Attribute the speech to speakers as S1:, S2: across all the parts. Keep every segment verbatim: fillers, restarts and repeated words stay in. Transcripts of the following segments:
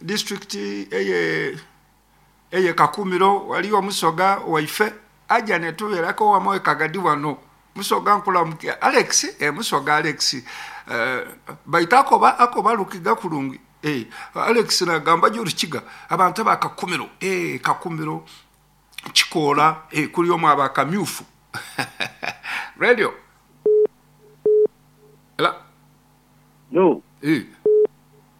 S1: District eye eye Kakumiro waliyo omusoga waife aja netubeerako wamu e Kagadi wano. Musoga nkulamukia Alex, eh, Musoga Alex, eh, baita akoba akoba Lukiga kurungi. Eh, Alex nagamba Rukiga abantu aba Kakumiro, eh, Kakumiro Kikoola, eh, kuli omu aba Kamyufu. Radio. Ela.
S2: No.
S1: Eh.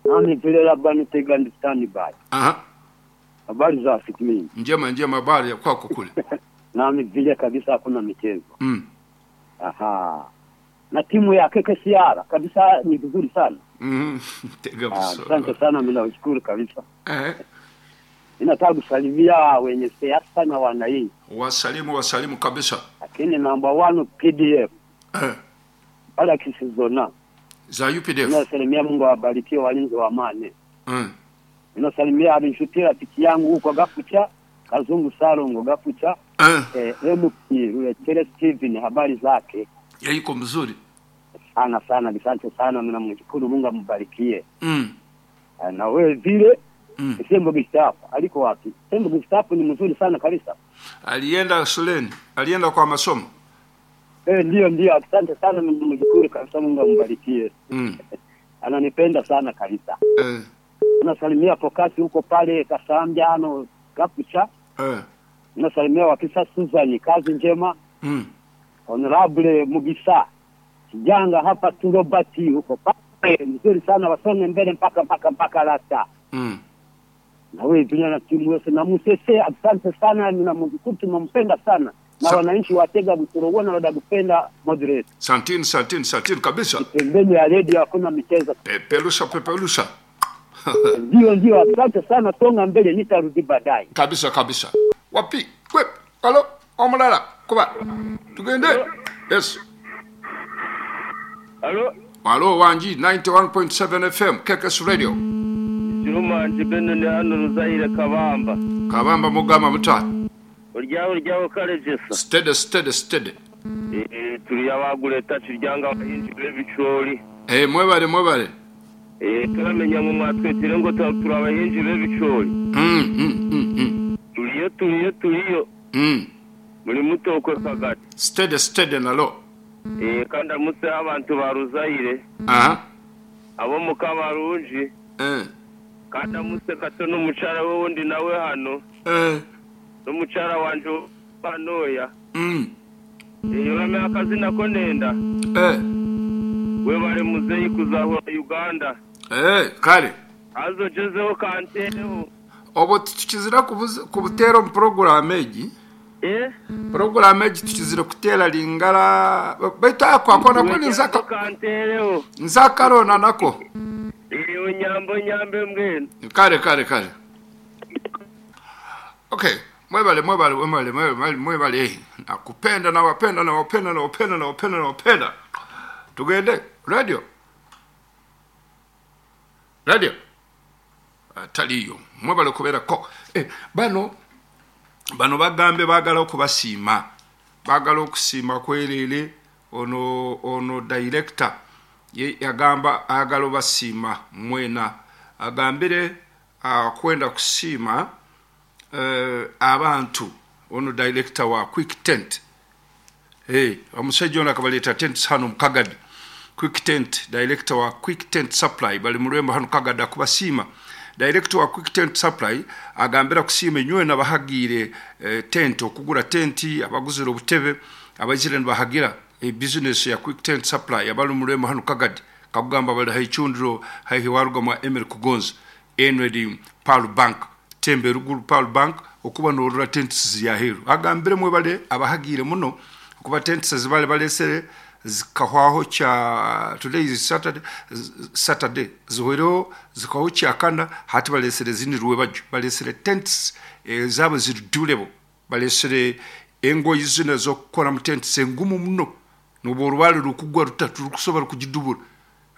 S2: Nami vile labda nitega ndi standby.
S1: Aha.
S2: Habari za siku mingi.
S1: Njema njema, habari ya kwako kule.
S2: Nami vile kabisa hakuna michezo.
S1: Mm.
S2: Aha. Na timu ya K K C R kabisa ni vizuri sana.
S1: Mm. Tega
S2: Ah,
S1: buso.
S2: Asante sana, mimi nashukuru kabisa.
S1: Eh.
S2: Ninataka kusalimia wenye siasa na wananchi.
S1: Wasalimu, wasalimu kabisa.
S2: Lakini number one P D F.
S1: Eh.
S2: Wala kisizona.
S1: Za U P D F.
S2: Ninasalimia, Mungu awabarikie walinzi wa amani.
S1: Mm.
S2: Ninasalimia abinshuti rafiki yangu huko Gafucha, Kazungu Salongo Gafucha.
S1: Eh.
S2: Eh, M P Rulechere Steven, habari zake?
S1: Ya iko mzuri.
S2: Sana sana, asante sana, mimi namshukuru Mungu ambarikie.
S1: Mm.
S2: Eh, na wewe vile
S1: Mm.
S2: Sembo Gustavo aliko wapi? Sembo Gustavo ni mzuri sana kabisa.
S1: Alienda shuleni, alienda kwa masomo.
S2: Eh, ndio ndio, asante sana, mimi namshukuru kabisa, Mungu ambarikie.
S1: Mm.
S2: Ananipenda sana kabisa.
S1: Eh.
S2: Nasalimia Pokasi huko pale Kasambiano Gafucha.
S1: Eh.
S2: Nasalimia Wakisa Susan, kazi njema.
S1: Mm.
S2: Honorable Mugisa Kijanga hapa tu Robert huko pale mzuri sana, wasonge mbele mpaka mpaka mpaka lasta.
S1: Mm.
S2: Na wewe pia na timu yote na Musese, asante sana, na Mungu tunampenda sana. Na
S1: Sa-
S2: wananchi wa Tega Butorogona wanakupenda moderate.
S1: Santini, santini, santini kabisa.
S2: Pembeni ya radio hakuna michezo.
S1: Pepelusha, pepelusha.
S2: Ndio ndio, asante sana, songa mbele, nitarudi baadaye.
S1: Kabisa kabisa. Wapi? Kwe. Halo, omulala. Kuba. Tugende. Yes.
S3: Halo.
S1: Halo wanji ninety-one point seven F M K K S Radio.
S3: Kiruma njibeno ni hano Ruzaire Kabamba.
S1: Kabamba mugama muta.
S3: Uryaho uryaho karejesa.
S1: Steady steady steady.
S3: Eh, turi abagureta turyanga abahinzi b'ibicori.
S1: Eh, mwebale mwebale.
S3: Eh, turamenya mu mwatwetire ngo turi abahinzi b'ibicori.
S1: Mm, mm, mm, mm.
S3: Turiyo turiyo turiyo.
S1: Mm.
S3: Muri mutokwe kagati.
S1: Steady steady nalo.
S3: Eh, kandi amutse abantu ba Ruzaire.
S1: Aha.
S3: Abo mukabarunji.
S1: Eh.
S3: Kandi amutse kato n'umucara we wundi nawe hano.
S1: Eh.
S3: N'umucara wanje banoya.
S1: Mm.
S3: Eh, urame akazina ko nenda.
S1: Eh.
S3: We bare muzeyi kuzahura Uganda.
S1: Eh, kale.
S3: Azojezeho kanteho.
S1: Obo tukizira kubutera mu program egi.
S3: Eh?
S1: Program egi tukizira kutera lingala baita akwa kona ko nzaka
S3: kanteho.
S1: Nzakarona nako.
S3: Iyo nyambo nyambe mbwene.
S1: Kale kale kale. Okay, mwebale mwebale mwebale mwebale mwebale. Nakupenda na wapenda na wapenda na wapenda na wapenda na wapenda. Tugende radio. Radio. Ataliyo mwebale kubera ko eh bano bano bagambe bagala okubasiima bagala okusiima kwerere ono ono director ye yagamba agala obasiima mwena agambire akwenda kusiima eh, abantu ono director wa Quick Tent. Eh omusajja ono akabaleta tent hano mukagadi. Quick Tent director wa Quick Tent Supply bali mulwembo hano kagada kubasiima. Director wa Quick Tent Supply agambira kusiima enywe nabahagire eh, tent okugura tenti abaguzira obutebe abazire nibahagira e business ya Quick Tent Supply abali mulwembo hano kagadi kakugamba bali haichundiro haihi waruga mwa Emery Kugonza Enwedi Paul Bank Tembe ruguru Paul Bank okuba norura tents ya heru agambire mwe bale abahagire muno kuba tents zibale balesere zikahwaho cha today is Saturday Saturday zuhero zikaho cha kana hati balesere zindi ruwe baju balesere tents e, zabo ziri durable balesere engo izina zo kukora mu tents engumu muno nuborwale rukugwa rutatu rukusobora kugidubura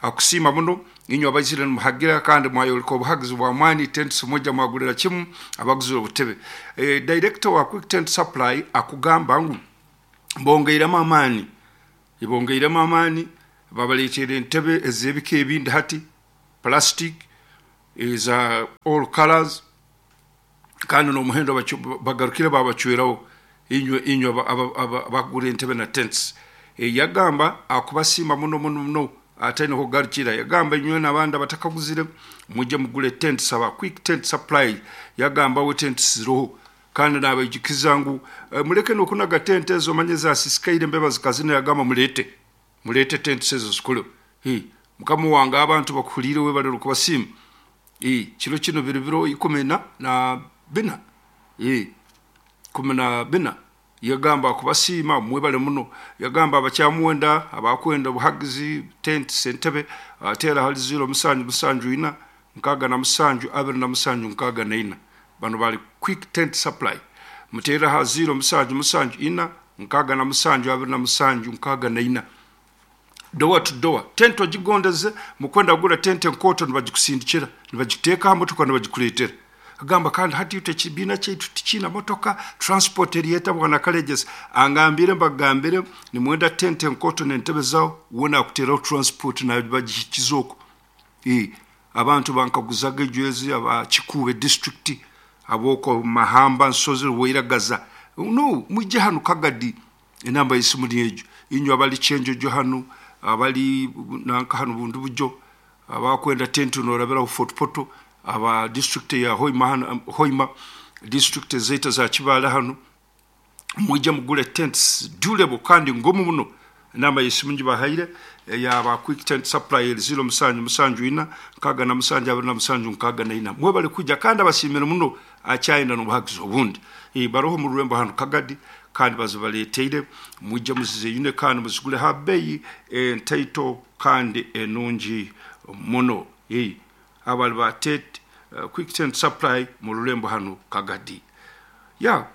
S1: akusima muno inyo abazire muhagira kandi mwayoliko obuhagizi bwa mwani tents moja mwagulira kimu abaguzira obutebe e, director wa Quick Tent Supply akugamba ngu bongeiremu amaani ibongeiremu amaani babaleetere entebe ez'ebika ebindi hati plastic Eza all colors, kandi n'omuhendo bacu- bagarukire babacweraho inywe inywe aba- aba- aba- abagura entebe na tents. E, yagamba akubasiima muno muno muno, ataine kugarukira. Yagamba inywe n'abandi abatakaguzire mujye mugule tents, aba Quick Tent Supply. Yagamba we tents ziroho, kandi nabaijukiza ngu eh, muleke nokunaga tente ezo, manye zasisikaire embeba zikazina. Yagamba mulete mulete tents ezo zikole. Hi, mukama wange, abantu bakuhulire, webalere okubasiima. Eh, kiro kino biri biro ikumi na na bina, Eh, kumi na bina. Yagamba kubasiima, mwebale muno. Yagamba abakyamuwenda, abakwenda obuhagizi, tent, entebe, ateera hali ziro musanju musanju ina nkaaga na musanju abiri na musanju nkaaga na ina. Bano bali Quick Tent Supply. Muteera ha ziro musanju musanju ina nkaaga na musanju abiri na musanju nkaaga na ina. Door to door, tent ogigondeze, mukwenda kugura tent enkooto, nibagikusindikira, nibagiteeka ha motoka, nibagikuleetera. Agamba kandi hati itwe ekibiina kyaitu tikiina motoka, transport eriyeta. Bwana Kalegesa angambire mbagambire, nimwenda tent enkooto n'entebe zawo, wona akuteeraho transport nabagihikiza okwo. Eh, abantu bankaguzaga ejwezi, aba Kikuube district, aboko Mahamba, Nsozi, Wairagaza, no mujje hano Kagadi. Enamba y'esimu ni egyo. Inywe abali Kyenjojo hano, abali nanka hano bundu bujo, abakwenda tenti, norabiraho Fort Portal, aba district ya Hoima hano, Hoima district zeita za Kibaale hano, mwijje mugule tents durable kandi ngumu muno. Enamba y'esimu ngibahaire eyaba Quick Tent Supply, ziro musanju musanju ina nkaaga na musanju abiri na musanju nkaaga na ina. Mwebale kujja, kandi abasiimire muno. Akyayina n'obuhagizi obundi. Eh, baroho mu rurembo hano Kagadi, kandi bazibaleeteire. Mwijje muzizeyune kandi muzigule ha bbeeyi entaito kandi enungi muno. Eh, abali ba tent, uh, Quick Tent Supply mu rurembo hano Kagadi. Yeah,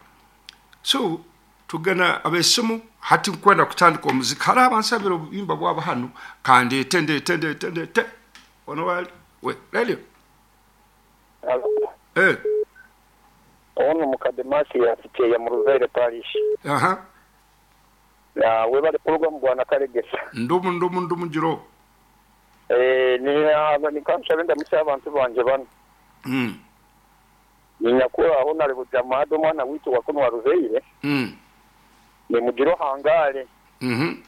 S1: so tugana abesimu. Hati nkwenda kutandika omuziki. Hariho abansabira obuyimba bwabo hano, kandeete, ndeete, ndeete, ndeete ono wali we lelio. Eh.
S4: Ono mukademasi yafikyeya mu Ruzaire Parish.
S1: Aha.
S4: Na webale program, bwana Kalegesa.
S1: Ndumu ndumu ndumu jiro.
S4: Eh, ni aba nikanshabe ndamutse abantu banje bano.
S1: mm.
S4: Ninyakura aho nari bujamado omwana witu wakono wa Ruzaire.
S1: Mm.
S4: Ni mugiro hangare.
S1: Mm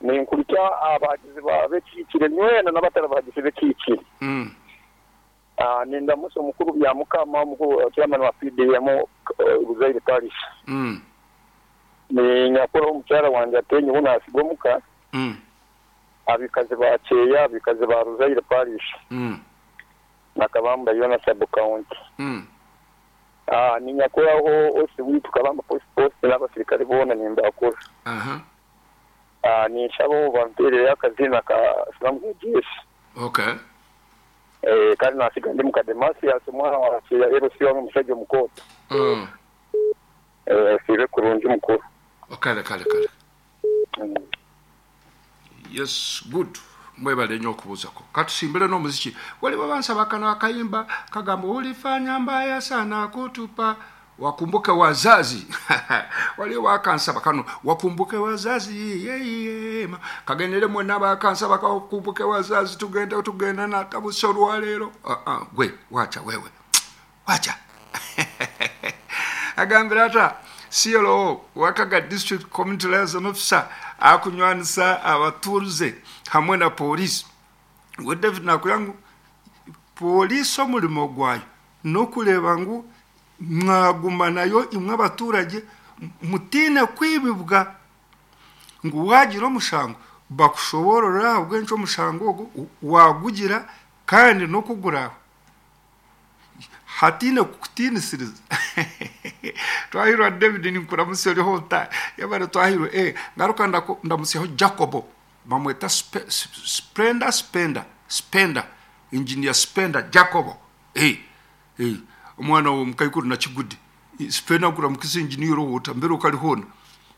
S4: Ninkurikya abagizi ba bekikire nywena n'abatari abagizi bekikire.
S1: -hmm. mm.
S4: Ah, nindamutse omukuru bya mukama, omukuru chairman wa P D M Ruzaire Parish.
S1: Mm.
S4: Ni nyakura omukyara wanje atenye ubu omuka.
S1: Mm.
S4: Abikazi ba Kyeya, abikazi ba Ruzaire Parish.
S1: Mm.
S4: Nakabamba yona sub county.
S1: Mm.
S4: Ah, ninyakuraho osi witu Kabamba post post n'abasirikare bona nimbakura.
S1: Aha.
S4: Ah, ninshaba bamperere akazina ka Salamu Jeshi.
S1: Okay.
S4: Eh, kandi nasiga ndi mukademasi yase mwana wa Kyeya ero si wamwe musajja omukoto.
S1: mm.
S4: Eh, sibe kurungi mukuru.
S1: Kale kale kale.
S4: Mm.
S1: Yes, good, mwebale nnyo okubuuzako. Katusimbire n'omuziki. Waliwo bansaba kano akayimba kagamba, "Ulifanya mbaya sana kutupa, wakumbuke wazazi." Waliwo bakansaba kano, "Wakumbuke wazazi." Yeyema kagendere mwena bakansaba kakumbuke wazazi. Tugenda tugenda natabuse olwaleero. Ah, ah, gwe wacha, wewe wacha. Agambira ata C L O Wakaga district community liaison officer akunywanisa abatuuze hamwe na polisi. We David nakugira ngu polisi omurimo gwayo n'okureeba ngu mwaguma nayo imwe abaturage, mutiine kwibibwa, ngu wagira omushango bakushoborora ahabw'enki omushango ogwo wagugira kandi n'okuguraho hatiine kukutiinisiriza. Twahirwa David, ninkuramutsya oriho ota yabare. Twahirwa. Eh, ngaruka ndaku- ndamutsyaho Jacobo, bamweta Spe- Splenda, Spenda, Spenda, engineer Spenda Jacobo. Eh, eh, omwana wo mukaikuru nakigudi Spenda, nkuramukiza engineer owota mbere okalihona.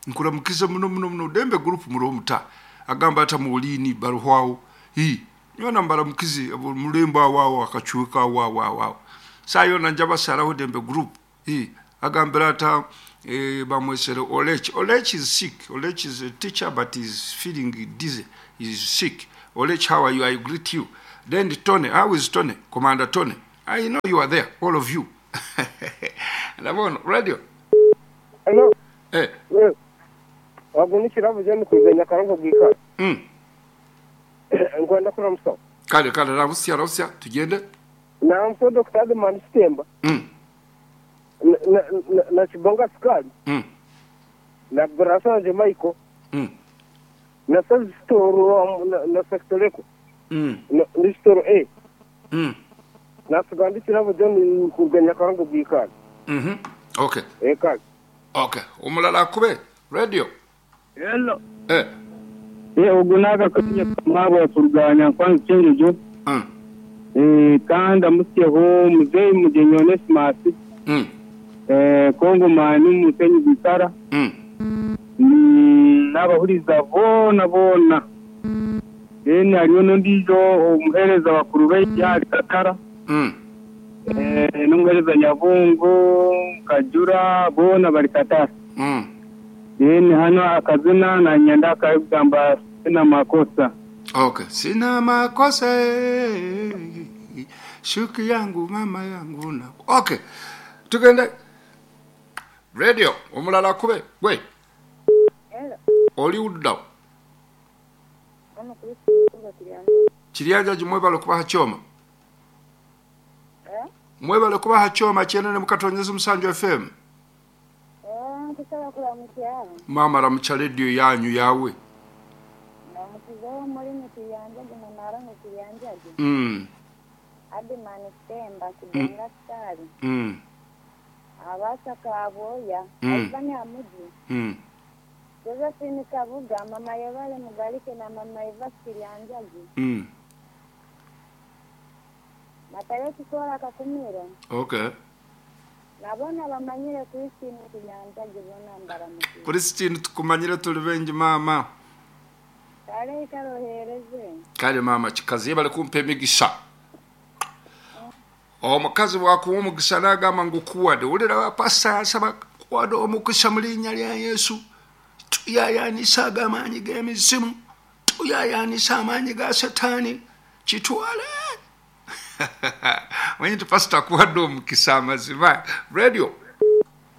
S1: Nkuramukiza muno muno muno. Dembe Group muriho muta agamba ata muulini baruhwawo hi nyona mbaramukizi abo mulembo awawo akacuka awawo awawo sayona njabasaraho Dembe Group. Hi agambira ata eh, bamwesere Olech. Olech is sick. Olech is a teacher but is feeling dizzy, is sick. Olech, how are you? I greet you. Then Tony, how is Tony? Commander Tony. I know you are there, all of you. Ndabona radio.
S5: Hello.
S1: Eh.
S5: Wagunikira vuze mukuze Nyakarongo bwika.
S1: Mm.
S5: Ngwanda kura muso.
S1: Kale kale rabusia rabusia tugende.
S5: Na mso Doctor Adman Sitemba.
S1: Mm.
S5: Na na, na Chibonga Sukali.
S1: Mm.
S5: Na Brasanje Michael.
S1: Mm.
S5: Na Sastoro na, na Sektoreko.
S1: Mm.
S5: Na Nistoro A.
S1: Mm.
S5: Na sugandikira vuze mukuze Nyakarongo bwika.
S1: Mhm. Okay.
S5: Eh kale.
S1: Okay. Omulala akube radio.
S3: Hello.
S1: Eh.
S3: Eh ogunaga kunya kamabo kurganya kwanza chenjo.
S1: Mm.
S3: Eh kanda musyeho muzeyi mugenyi Onesimus.
S1: Mm.
S3: Eh Kongo mani musenyi bitara.
S1: Mm.
S3: Mm, n'abahuriza bona bona. Then hariyo n'ondijo omuhereza bakuru b'ekyari Katara.
S1: Mm.
S3: Eh n'omuhereza Nyabungo Kajura bona bari Katara.
S1: Mm.
S3: Then hano akazina na nyanda akagamba sina makosa.
S1: Okay. Sina makosa. Shuki yangu mama yangu na. Okay. Tugende. Radio omulala kube gwe.
S6: Hello.
S1: Oli udda.
S6: Ono Christine Kiryanja.
S1: Kiryanja jimwebale kubaha kyoma.
S6: Eh?
S1: Mwebale kubaha kyoma kyenene mukatonyeza Musanju F M.
S6: Eh, nkusaba kuramukya.
S1: Mama ramukya radio yanyu yawe.
S6: Namukizaho muri Kiryanja gumunara mu Kiryanja.
S1: Mm.
S6: Adman Sitemba Kibonga Sukali.
S1: Mm.
S6: Abasa Kaboya,
S1: Mm.
S6: Albani Amuji.
S1: Mm.
S6: Josephine Kabuga, Mama Yevale Mugalike na Mama Eva Kiryanja.
S1: Mm.
S6: Matayo Kikora Kakumiro.
S1: Okay.
S6: Nabona bamanyire Christine Kiryanja gibona mbaramuki.
S1: Christine tukumanyire tuli bengi mama.
S6: Kale karohereze.
S1: Kale mama kikazi bali kumpa emigisha. Omukazi wakuwa omukisa n'agamba ngu kuwadde wulira pastor asaba kuwadde omukisa mu linnya lya Yesu. Tuyayanisa amaanyi g'emizimu, tuyayanisa amaanyi ga Setaani, kitwale. Manyi nti pastor akuwadde omukisa amazima. Radio.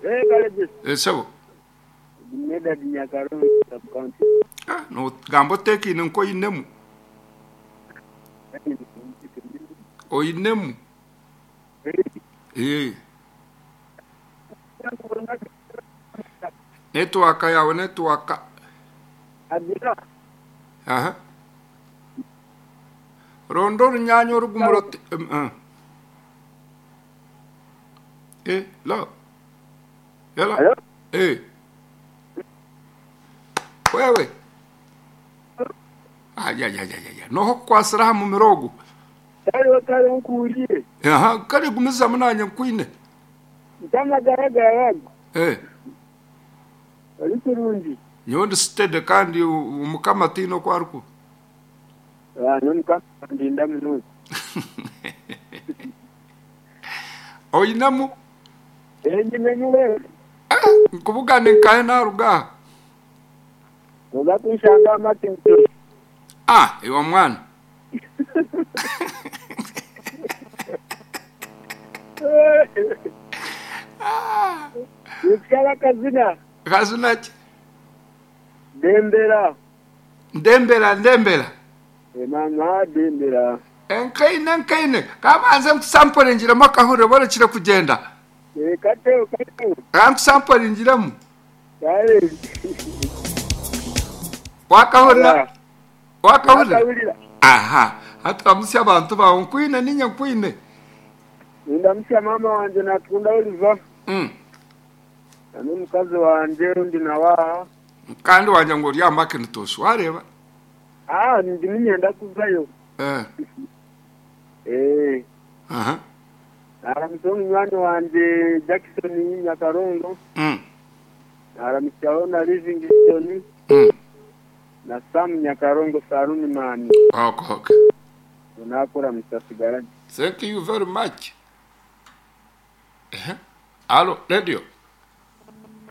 S5: Eh kale.
S1: Esebo.
S5: Medad Nyakarongo sub county.
S1: Ah, no gamba oteekine nkoyinemu. Oyinemu. Eh. Network yawe network.
S5: Adira.
S1: Aha. Rondo runyanya orugumuro. Um, uh. Eh, lo. Yala.
S5: Hello?
S1: Eh. Wewe. Ay ay ay ay ay. Noho kwasira mu mirogo.
S5: Kale kale nkuuliye.
S1: Aha, kale gumiza munanye nkwine.
S5: Ntamagaraga.
S1: Eh.
S5: Oli kirungi.
S1: Nyondi steady kandi umukama tino kwaruku.
S5: Ah, nomukama ndinda muno.
S1: Oyinamu?
S5: Eh, nyimenywe.
S1: Ah, nkubugane nkaye naruga.
S5: Oza kunshanga amatinto.
S1: Ah, iwe mwana.
S5: Ah. Nikala kazina.
S1: Kazina ki?
S5: Dembera.
S1: Ndembera, ndembera.
S5: E mama dembera.
S1: Enkaine enkaine kabanze nkusampole njiremu akahure borekire kugenda.
S5: E kateo kateo.
S1: Kankusampole njiremu.
S5: Kale.
S1: Wakahurira. Wakahurira. Aha, hata abantu bawe nkwine ninya nkwine.
S5: Ndamusya mama wanje natunda Oliver.
S1: Mm.
S5: Nami mukazi wanje ndi nawa.
S1: Kandi wanje ngo rya Macintosh wareba.
S5: Ah, ndi ninyenda kuvayo.
S1: Eh.
S5: Eh.
S1: Aha.
S5: Aramuso munywani wanje Jackson Nyakarongo.
S1: Mm.
S5: Aramusyaho na Livingstone.
S1: Mm.
S5: Na Sam Nyakarongo Saruni mani.
S1: Okay, okay.
S5: Unakora mutasigara.
S1: Thank you very much. Eh. Allo, radio.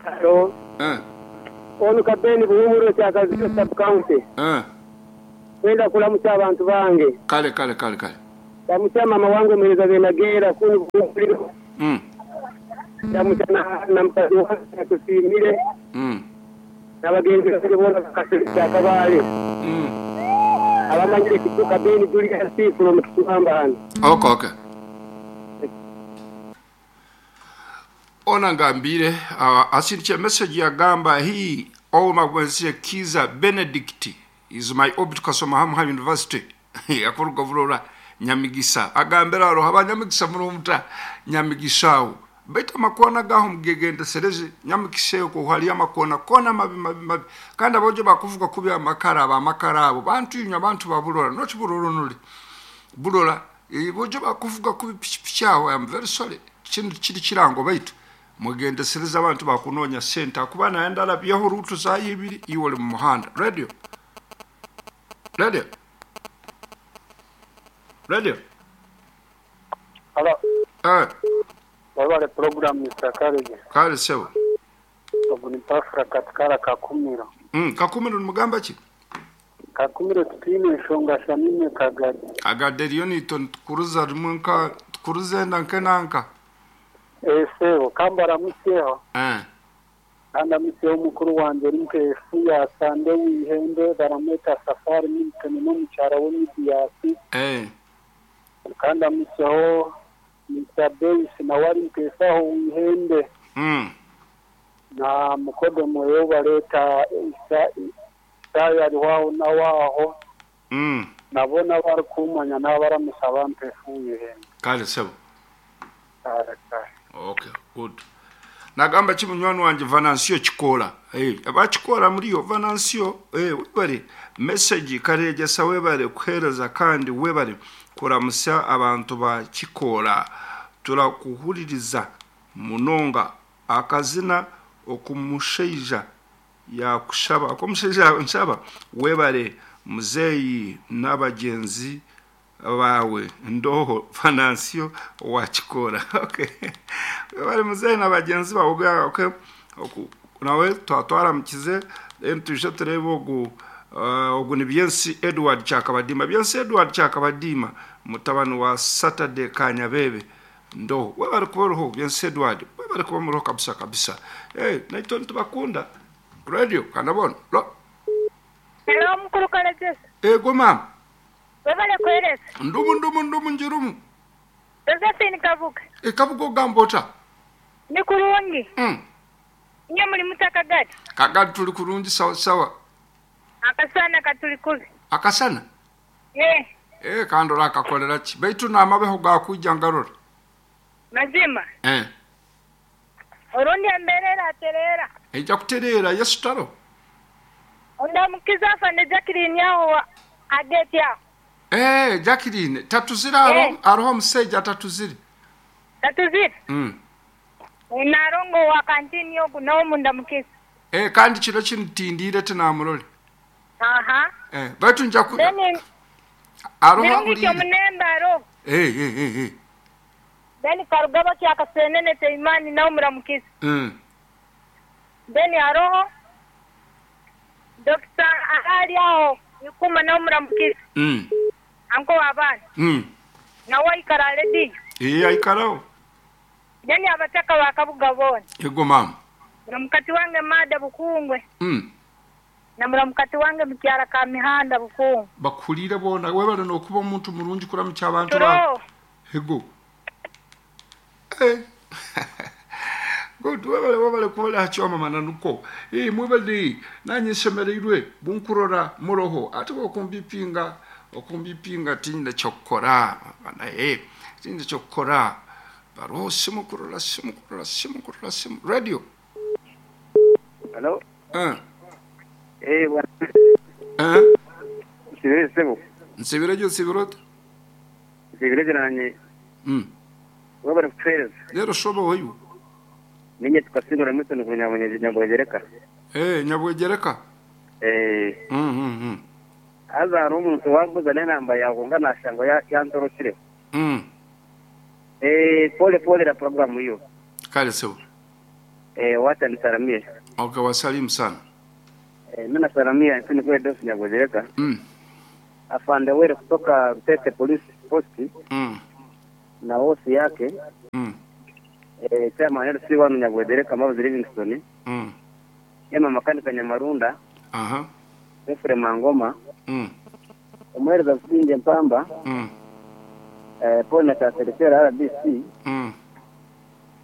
S3: Hello.
S1: Eh.
S3: Onu kapeni kuhumuro cha Kazio sub county.
S1: Eh.
S5: Kwenda kulamucha abantu bange.
S1: Kale kale kale kale.
S5: Ndamucha mama wange mwereza benagera kuni bukuliro.
S1: Mm.
S5: Ndamucha na, na mukazi wange tusimire.
S1: Mm.
S5: N'abagenzi bange boona bakasirika akabaale.
S1: Mm.
S5: Abamanyire kituka Beni Julius from Kisamba hano.
S1: Okay, okay. Ona ngambire uh, asindiche message yagamba hii oma gwensie Kiza Benedict is my orbit kasoma hamu university yakuruga vulora Nyamigisa agambira aro abanyamigisa murumuta Nyamigisa awo baita makona gaho mugegenda sereze Nyamigisa ko hali amakona kona mabi mabi mabi kandi abojo bakuvuga kubi amakara abamakara abo bantu inywa abantu babulora not buloro nuli bulola bojo bakuvuga kubi pichipichi awo. I am very sorry kintu kiri kirango baitu mugendesereza abantu bakunonya sente akuba naye ndalabyeho rutu zayibiri iwe oli mu muhanda. Radio radio radio.
S4: Hello.
S1: Eh,
S4: wabale program Mister Karege.
S1: Kale sebo.
S4: Ogu ni Pafra katikara Kakumiro.
S1: Mm, Kakumiro nimugamba ki?
S4: Kakumiro tutiine enshonga shamime Kagadi.
S1: Agade eriyo niito nitukuruza rimwe nka tukuruza enda nkenanka.
S4: Eh sebo kambara musyeho.
S1: Eh.
S4: Kanda musyeho mukuru wanje ori nkefu ya Sande wihembe baramweta Safari Milton n'omukyara w'Emidiyasi.
S1: Eh.
S4: Kanda musyeho Mister Davis nawe ari nkefu aho wihembe.
S1: Mm.
S4: Na mukodo moyo bareta isa Isaya ari waho na waho.
S1: Mm.
S4: Nabona bari kumanya n'abaramusaba mpefu wihembe.
S1: Kale sebo.
S4: Kale kale.
S1: Okay, good. Nagamba ki munywani wanje Venancio Kikola. Eh, abakikola muriyo Venancio, eh webare message karejesa webare kuhereza kandi webare kuramusa abantu ba Kikola. Turakuhuririza munonga akazina okumusheija yakushaba okumusheija nshaba webare muzeyi n'abagenzi bawe ndoho Venancio wa Kikola. Okay. Webare muzeyi n'abagenzi bawe. Okay. Nawe twatwaramukize then tuje turebe ogu uh, ogu ni Byensi Edward Chakabadima. Byensi Edward Chakabadima mutabani wa Saturday Kanyabebe ndo webare kuba Byensi Edward webare kuba muroho kabisa kabisa. Eh hey, naito ntubakunda radio kanabona lo.
S6: Hello mukuru Kalejesa.
S1: Ego mama.
S6: Webale kweresa.
S1: Ndumu ndumu ndumu njirumu.
S6: Josephine Kabuga.
S1: E Kabuga ogamba ota?
S6: Ni kurungi.
S1: Mm.
S6: Nye muri mutakagati.
S1: Kagati tuli kurungi sawa sawa.
S6: Akasana katuli kubi.
S1: Akasana?
S6: Eh.
S1: Eh kandora akakolera ki? Baitu namabeho gakujja ngarora.
S6: Mazima.
S1: Eh.
S6: Orundi emberera aterera.
S1: Ejja kuterera Yesu taro.
S6: Ondamukiza afande Jacqueline aho ageti aho.
S1: Eh Jacqueline tatuzira aro
S6: Eh.
S1: aroho omusajja tatuzire.
S6: Tatuzira.
S1: Mm.
S6: Narongo wa kantini yoku nawo mundamukiza.
S1: Eh kandi kiro kinitindire tinamurole.
S6: Aha.
S1: Eh baitu nja ku
S6: Then
S1: aroho
S6: Nirungi kyo
S1: aburire.
S6: munemba aro.
S1: Eh eh eh eh.
S6: Then karugaba kya kasenene teimani nawo muramukiza.
S1: Mm.
S6: Then aroho Doctor ahali aho ikuma nawo muramukiza.
S1: Mm.
S6: Anko wabana.
S1: Mm.
S6: Nawo ikara ledi.
S1: Eh aikarao.
S6: Then abataka wakabuga bona.
S1: Ego mama.
S6: Muramukati wange mada bukungwe.
S1: Mm.
S6: Na muramukati wange mukyara ka mihanda bukungwe.
S1: Bakulire bona webale nokuba omuntu mulungi kuramukya abantu ba.
S6: Turo.
S1: Ego. Eh. Good webale webale kubola hacho mama nanuko. Eh mwebale nanye semereirwe bunkurora muroho ate okumbipinga okumbipinga tinda kyokora bana eh tinda kyokora baro simu kurora simu kurora simu kurora simu radio.
S5: Hello.
S1: Eh.
S5: Eh bwana.
S1: Eh.
S5: Sibire sebo.
S1: Nsibire jo sibirot.
S5: Sibire nanye.
S1: Mm.
S5: Wabare kufereza.
S1: Lero shobo hoyu.
S5: Ninye tukasigura mutoni kunyabonye nyabwegereka.
S1: Eh nyabwegereka.
S5: Eh.
S1: Mm mm mm.
S5: Aza omuntu wambuza nenamba yawe nga nashango yantorokire.
S1: Mm.
S5: Eh pole pole la programu hiyo.
S1: Kale sebo.
S5: Eh wacha nisalamie.
S1: Okay wasalimu sana.
S5: Eh mimi nasalamia ntini kwa dosi nyabwegereka.
S1: Mm.
S5: Afande Were kutoka Rutete Police Post
S1: Mm.
S5: na hosi yake
S1: Mm.
S5: eh, chairman L C wanu Nyabwedere Kamabuzi Livingstone,
S1: Mm.
S5: Emma Makanika Nyamarunda,
S1: Aha.
S5: Efrem Mangoma,
S1: Mm.
S5: Omuhereza Businge Mpamba,
S1: Mm.
S5: eh, Paul na Taserekera R B C
S1: Mm.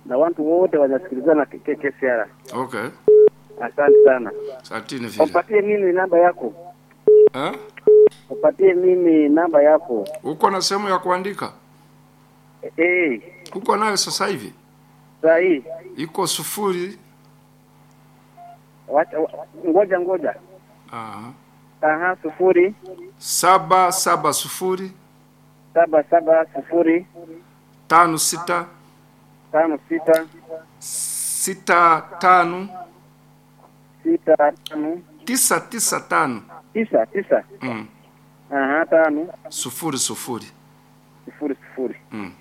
S5: na watu wote wanasikilizana K K C R.
S1: Okay.
S5: Asante sana.
S1: Asanteni vile.
S5: Upatie mimi namba yako.
S1: Eh?
S5: Upatie mimi namba yako.
S1: Uko na sehemu ya kuandika?
S5: Eh,
S1: Uko nayo sasa hivi?
S5: saa hii.
S1: Iko sufuri.
S5: Wacha ngoja ngoja.
S1: Aha.
S5: Aha, sufuri
S1: Saba saba sufuri
S5: saba saba sufuri
S1: tano sita
S5: tano sita
S1: sita tano
S5: sita tano
S1: tisa tisa tano
S5: tisa tisa.
S1: Mm.
S5: Aha, tano
S1: Sufuri sufuri.
S5: sufuri sufuri.
S1: Mm.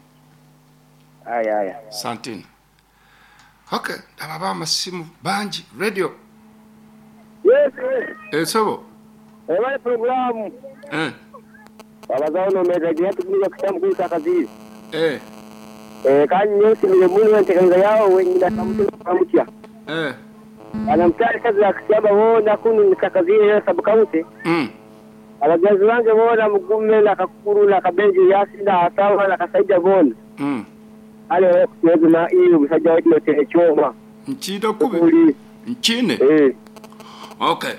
S5: Aya aya.
S1: Santini. Okay, ndaba amasimu bangi radio.
S3: Yes, yes.
S1: Eh, sebo.
S3: Ebale programu.
S1: Eh.
S3: Abazao no mega yetu kuja kitamu kuita kazi.
S1: Eh.
S3: Eh, kanyi yote ni mungu ntekanza yao wengine kamutu kamutia.
S1: Eh.
S3: Anamtari kazi ya kusiaba wona kunu nikakazi ya sabu kaunti.
S1: Mm.
S3: Abagenzi bange bona mugume na kakuru na kabenji yasi na asawa na kasaija bona.
S1: Mm.
S3: Ale wewe kuweza na iyo musajja wetu yote choma.
S1: Nchida kube.
S3: Kuli.
S1: Nchine.
S3: Eh.
S1: Okay.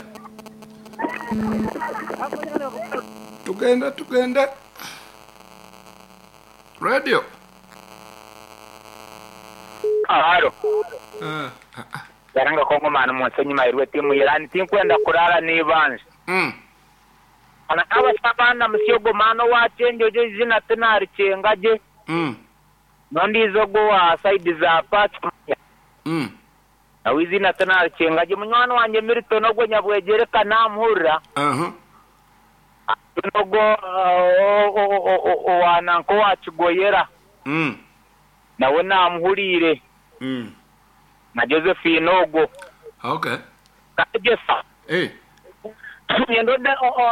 S1: Tugenda tugenda. Radio.
S7: Alo.
S1: Eh.
S7: Yaranga kongo manu munsenyi mairwe timu irani tinkwenda kurara nibanje.
S1: Mm.
S7: Ana abasabana musyogo mano wachenjo je zina tinari chengaje.
S1: Mm.
S7: Nondizo go wa side za patch.
S1: Mm.
S7: Nawe izina tinari chengaje munywani wanje Milton ogwo nyabwegereka namuhurira.
S1: Uh-huh.
S7: Nogo owananko wakigoyera.
S1: Mm.
S7: Nawe namuhurire.
S1: Mm.
S7: Na Josephine ogwo.
S1: Okay.
S7: Kajesa.
S1: Eh.
S7: Ngendo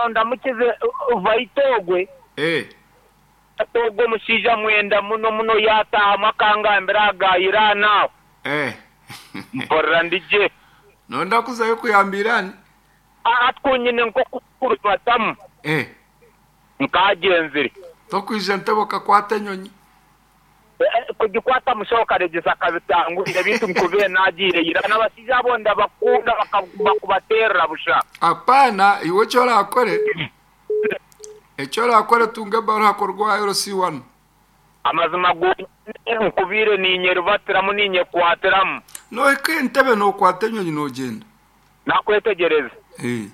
S7: ndamukize vaitogwe.
S1: Eh.
S7: Togo musija mwenda muno muno yataha makangambira agayira nawe.
S1: Eh.
S7: Mporera ndije.
S1: Nonda kuzayo kuyambirani?
S7: Atkunyine nko kurubatamu.
S1: Eh.
S7: Nkagenzire.
S1: Tokwija ntebo kakwata enyonyi.
S7: Kugikwata mushoka regisa kabitangurire bintu nkubire nagire ira n'abasija bonda bakunda bakubaterera busha.
S1: Apana iwe cyo rakore. Ecyo rakore tunge barakora R C one.
S7: Amazima go nkubire ninyerubatiramu ninyekwatiramu.
S1: No eke ntebe no kwata enyonyi no genda.
S7: Nakwetegereza.
S1: Eh.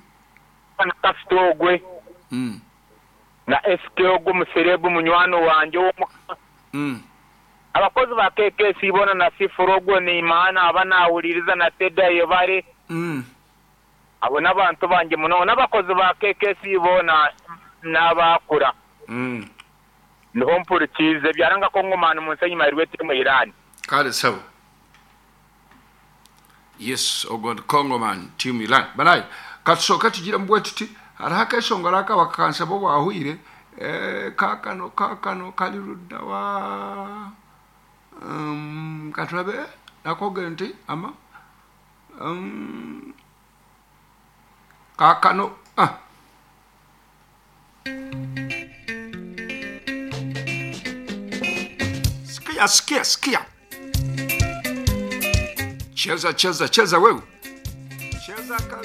S7: Na kafitogwe.
S1: Mm.
S7: Na S K ogwo muserebu munywano wanje wo.
S1: Mm.
S7: Abakozi ba K K C bona na sifurogwo ni imana abanawuliriza na teda yebare.
S1: Mm.
S7: Abo n'abantu banje muno n'abakozi ba K K C bona n'abakura.
S1: Mm.
S7: Niho mpurikize byaranga ko ngomana munsenyi mairwe timu Iran.
S1: Kale sawa. Yes, ogod Congoman team Iran. Banayi katushoka tugira mbwe tuti haraka eshongora akabakansa bo bahuire eh kakano kakano kalirudda wa um katulabe nakoge nti ama um kakano ah sikia sikia sikia cheza cheza cheza wewe cheza ka